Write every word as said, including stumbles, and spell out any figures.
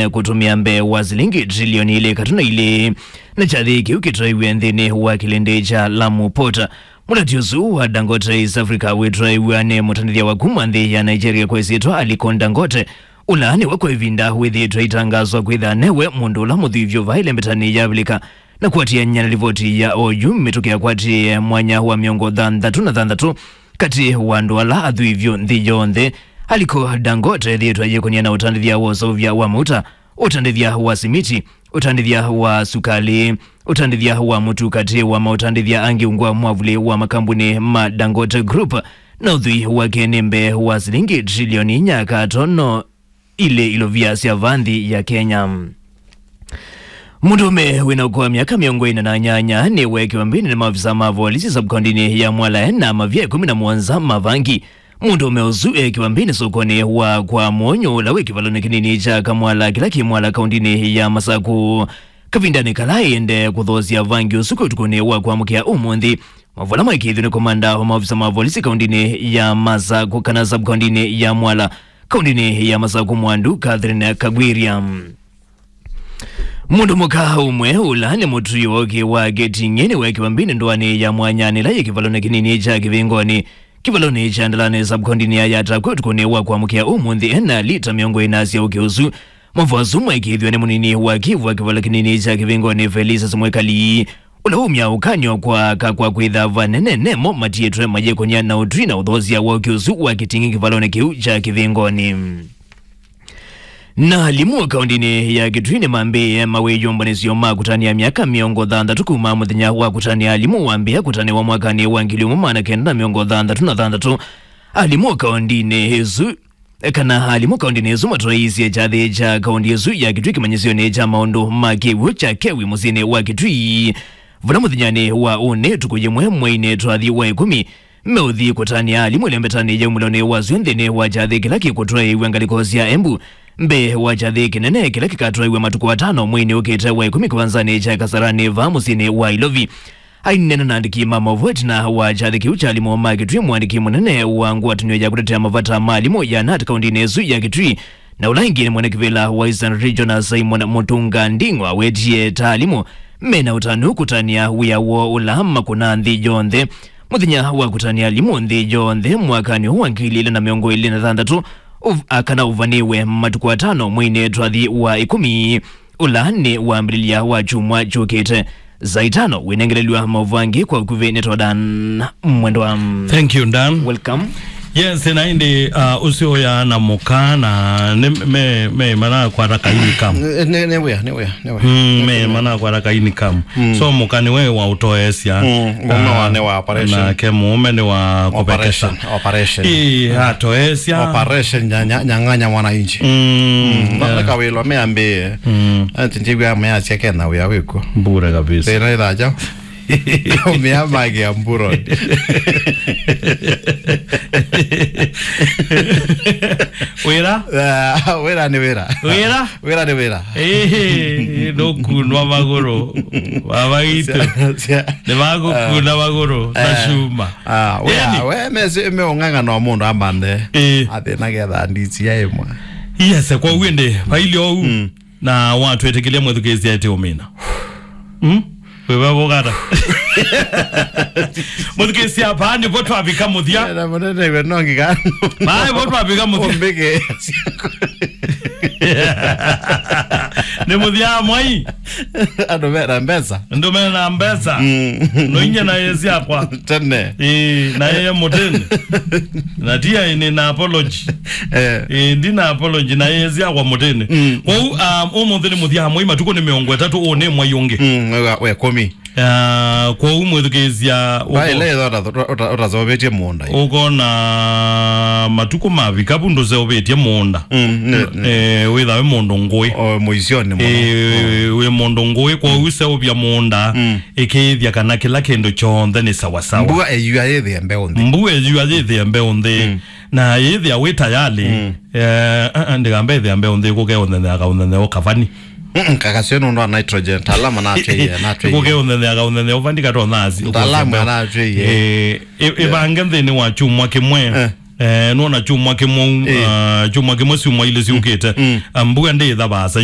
kũtũmĩa mbee wa silingi trilioni ilĩ katũ na ilĩ, na kyathĩ kĩu kĩtwaiwe nthĩnĩ wa kĩlĩndĩ kya Lamu Port. Mũteti ũsu wa Dangote East Africa wĩtwaiw'a nĩ mũtandĩthya wa kuma nthĩ ya Nigeria kwa ĩsyĩtwa Aliko Dangote, ũla nĩwe kwa ĩvinda wĩthĩĩtwe aitangaswa kwĩtha newe mũndũ ũla mũthwii vyũ vaa ĩlembetanĩ ya Avilika, na kũatĩanĩa na livoti ya oyu, mĩtũkĩ yakwatie mwanya wa mĩongo thanthatũ na thanthatũ katĩ wa andũ ala athwii vyũ nthĩ yonthe. Aliko Dangote ethĩĩtwe ayĩkũnĩa na ũtandĩthya wa ũseũvya wa mauta, ũtandĩthya wa simiti, ũtandĩthya wa sukalĩ, ũtandĩthya wa mũtu katĩ wa maũtandĩthya angĩ ungu wa mwavuli wa makambuni ma Dangote Group, na ũthwii wake nĩ mbee wa silingi trilioni inya katono ilĩ ilovia sya vaa nthĩ ya Kenya. Mũndũũme wĩna ũkũũ wa myaka mĩongo ĩna na nyanya nĩweekiwa mbĩnĩ nĩ maofisa ma volisi sub-kaũntĩnĩ ya Mwala na mavia ĩkũmi na mũonza ma vangi. Mũndũũme ũsu eekiwa mbĩnĩ sokonĩ wa kwa Mũnyũ ũla wĩ kĩvalonĩ kĩnini kya Kamwala kĩla kĩ Mwala kaũntĩnĩ ya Masaku. Kavindanĩ kala ĩendee kũthoosya vangi ũsu kwĩ ũtukũnĩ wa kwamũkĩa ũmũnthĩ, maũvoo ala maĩkĩĩthw'e nĩ komanda wa maofisa ma volisi kaũntĩnĩ ya Masaku kana sub-kaũntĩnĩ ya Mwala, kaũntĩnĩ ya Masaku Mwandu Catherine Kagwiria. Mũndũ mũka ũmwe ũla nĩ mũtũi wa ũkĩ wa Geting'e nĩweekiwa mbĩnĩ ndũanĩ ya Mwanyanĩ ĩla yĩ kĩvalonĩ kĩnini kya Kĩvĩngoni, kĩvalonĩ kya Ndalani sub-kaũntĩnĩ ya Yatta kwĩ ũtukũnĩ wa kwamũkĩa ũmũnthĩ ena lita mĩongo ĩna sya ũkĩ ũsu. Maũvoo asu maĩkĩĩthw'e nĩ mũnini wa kĩvu wa kĩvalo kĩnini kya Kĩvĩngoni Felicitas Mwikali, ũla waumya ũkany'o kwa aka kwa kwĩtha vanene nemo matiĩtwe mayĩkũnĩa na ũtwi na ũthoosya wa ũkĩ ũsu wa Geting'e kĩvalonĩ kĩu kya Kĩvĩngoni. Na alimũ kaũntĩnĩ ya Kitui nĩmambĩĩe mawĩyũmbanĩsyo ma kũtanĩa myaka mĩongo thanthatũ kuma mũthenya wa kũtanĩa alimũ wambĩĩa kũtanĩwa mwakanĩ wa ngili ĩmwe maana kenda na mĩongo thanthatũ na thanthatũ. Alimũ kaũntĩnĩ ĩsu, kana alimũ kaũntĩnĩ ĩsu matwaĩĩsye kyathĩ kya kaũntĩ ĩsu ya Kitui kĩmanyĩsyonĩ kya maũndũ ma kĩw'ũ kya Kewi mũsyĩnĩ wa Kitui, vala mũthenyanĩ wa ũnĩ, ũtukũ yĩmwe mweinĩ twathi wa ĩkũmi, meũthi kũtanĩa alimũ ĩlembetanĩ ya umĩlonĩ wa syũ nthĩnĩ wa kyathĩ kĩla kĩkũtwaĩĩw'a ngalĩko sya Embu, mbee wa kyathĩ kĩnene kĩla kĩkatwaĩw'a matukũ atano mweinĩ ũkĩte wa ĩkũmi kĩwanzanĩ kya Kasarani vaa mũsyĩnĩ wa Ilovi. Aineena na andĩki ma maũvoo ĩtina wa kyathĩ kĩu kya alimũ ma Kitui, mũandĩki mũnene wa ngwatanĩo ya kũtetea mavata ma alimũ ya nat kaũntĩnĩ ĩsu ya Kitui, na ũla ĩngĩ nĩ mwene kĩvĩla wa Eastern Region, Simon Mutunga Nding'o, awetie ta alimũ mena ũtanu kũtanĩa wĩa woo ũla makũnaa nthĩ yonthe. Mũthenya wa kũtanĩa alimũ nthĩ yonthe mwakanĩ ũũ wa ngili ilĩ na mĩongo ĩlĩ na thanthatũ, ũv-, a, kana ũvanĩwe matukũ atano mweinĩ twathi wa ĩkũmi, ũla nĩ wambĩlĩlya wa kyumwa kyũkĩte. Saa itano wĩnengelelw'a maũvoo angĩ kwa ũkuvĩ nĩ twa Dan Mwendwa. Thank you, Dan. Welcome. Yes, na ĩndĩ, uh, ũsyoya na mũka na nĩ me, me manakwata kaini kamu. Nĩ, nĩ, nĩ wĩa, nĩ wĩa, nĩ wĩa. Mm, me manakwata kaini kamu. Mm. So mũka nĩwe wa ũtoesya. Mm, mũũme wa, nĩ wa operation. Nake mũũme nĩ wa kũvekesa. Operation, operation. Ĩĩ, atoesya. Operation nya-, nya-, nyang'anya mwananchi. Mm, mm, no, yeah. Nĩ kawĩlo meambĩĩe. Mm. Ati njĩw'a measya kena wĩa wĩkw'o. Bure kabisa. Thĩna ĩthaja. Mea mage amburo. Wĩra? Ah, wĩra nĩ wĩra. Wĩra? Wĩra nĩ wĩra. Ĩĩ, ndũkunwa magũrũ. Baba witũ. Cia, cia. Nĩ magũkuna magũrũ na, eh, cuma. Ah, wĩa, ĩni. We mesi, me ũng'ang'ana wa mũndũ ambande. Ĩĩ. Athĩna getha ndisi ya ĩmwe. Yes, kwa ũguo ĩndĩ, vailĩ ou. Mm. Na watwĩtĩkĩlya mwĩthukĩĩsya ĩtĩ ũmina. Mm? Wĩva vũkata? Mwĩthukĩĩsya, vaa nĩvo twavika mũthya. Na mũnene we no ngika. Vaa nĩvo twavika mũthya. Ũmbĩke. Nĩ mũthya mwai. Andũ mena mbesa. Andũ mena mbesa. Mm. No inya na yesi akwa. Tene. Ĩĩ, na yeye mũtene. Na tia ĩnĩ na apology. Eh. Ĩĩ, ndi na apology na yesi akwa mũtene. Mm. Kwoou, um, ũmũnthĩ nĩ mũthya mwai, matukũ nĩ mĩongo ĩtatũ, ũũ nĩ mwai ũngĩ. Mm, we, we kũmi. Ah, kwoou mwĩthukĩĩsya, vai ũko-, ĩla ĩtha ũta-, ũta-, ũta-, ũtaseũvĩtye mũũnda. Ũkona matukũ mavika vu ndũseũvĩtye mũũnda. Mm, nĩ, nĩ. Eh, wĩthawe mũndũ ngũĩ. O mũisyonĩ mũno. Eh, mm, wĩ mũndũ ngũĩ, kwoou seũvya mũũnda, mm, ĩkĩĩthya kana kĩla kĩndũ kyonthe nĩ sawasawa. Mbua ĩyua yĩthĩe mbeũ nthĩ. Mbua ĩyua yĩthĩe mbeũ nthĩ. Mm. Na yĩthĩa wĩ tayalĩ, mm, eh, ah, ah, ndĩkamba ĩthĩa mbeũ nthĩ kũke ũnthethea kaũnthethea ũkavani. Mm, kakasio nũndũ wa nitrogen, talama natwĩie, natwĩie. Kũke ũnthethea kaũnthethea ũvandi katonasi. Talamu natwĩie. Eh, ĩ-, ĩvange nthĩnĩ wa kyumwa kĩmwe. Eh. Eh, nona kyumwa kĩmwe, eh, ah, kyumwa kĩmwe syumwa ilĩ syũkĩte. Mm. Ah, mbua ndĩĩtha vaasa.